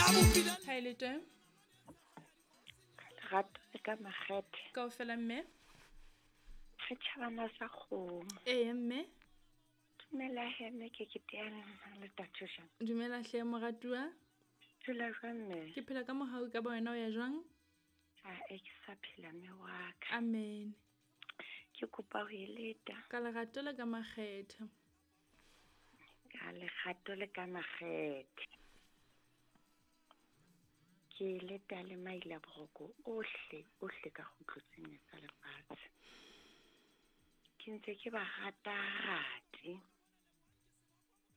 Ha e le teng. Lerato le ka makgethe. Kaofela mme. Re tjhabana sa kgomo. Ee mme. Dumela he mme ke ke teana le tatho jang. Dumela hle moratuwa. Phela jwang mme? Ke phela ka mohau ka ba wena o ya jwang? A e ke sa phela mme wa ka. Amen. Ke kopa ho e leta. Ka lerato le ka makgethe. Ka lerato le ka makgethe. Ke leta le maila boroko ohle ohle ka kgutlo tse nne tsa lefatshe. Ke ntse ke ba rata rate.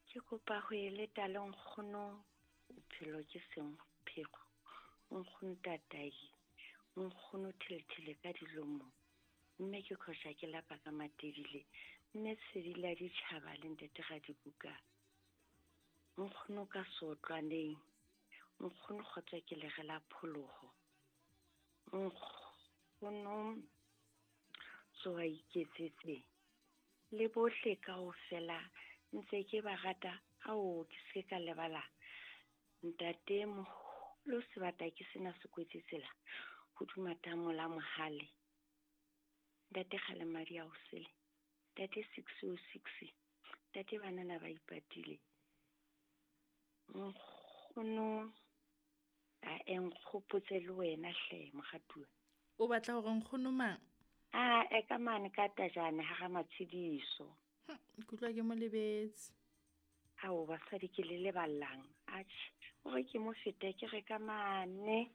Ke kopa ho e leta le nkgono bophelo ke seng pheko. Nkgono tatai, nkgono thelethele ka dilomo. Mme ke khosha ke lapa ka matebile. Mme tshedi la ditjhaba le ntate ga dibuka. Nkgono ka sotlwaneng. Nkgono kgotsa ke lere la pholoho. Nkgono tsoa iketsetse. Le bohle kaofela ntse ke ba rata ao ke se ka lebala. Ntate moholo sebata ke sena se kwetse tsela hodima tamo la mohale. Ntate kgale madi a o sele. Ntate 606. Ntate banana ba ipatile. Nkgono a e nkgopotse le wena hle moratuwa. O batla hore nkgono mang? A e ka mane ka tajane ha ga matshediso. Ke utlwa ke mo lebetse. Ao basadi ke le leballang. Atjhe, hore ke mo fete ke re ka mane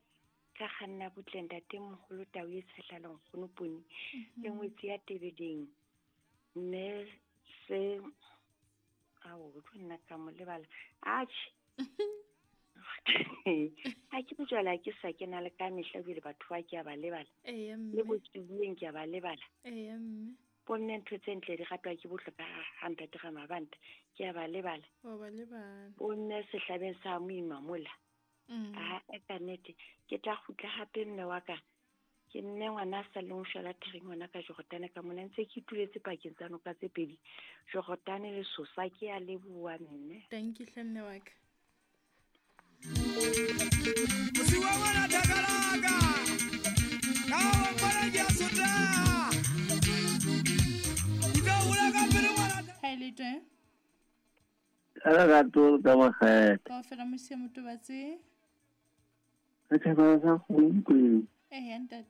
ka kganna butle ntate moholo tau e tshehla le nkgono poni le ngwetsi ya tebeleng. Mme se ao tlo nna ka mo lebala. Atjhe. Ha ke bojwala ke sa kena le ka mehla ebile batho ba ke a ba lebala. Eya mme. Le botsibueng ke a ba lebala. Eya mme. Bomme ntho tse ntle di ratwa ke bohle ka ha ntate ga mabanta ke a ba lebala. Wa ba lebala. Bomme sehlabeng sa moima mola. A e ka nnete ke tla kgutla hape mme wa ka. Ke mme ngwana a sa leng shwela thereng ngwana ka Jordan ka mona ntse ke ituletse pakeng tsa noka tse pedi. Jordan le Sosa ke a leboha mme. Thank you hle mme wa ka. Mosiwa ngwana thakalaka. Ka wa mpona ke a sotleha. Ke tlo hola ka pele ngwana. Ha e le teng. Ka lerato ka makgethe. Kaofela mosia motobatse. Re thabela sa kgomo kweng. Eya ntate.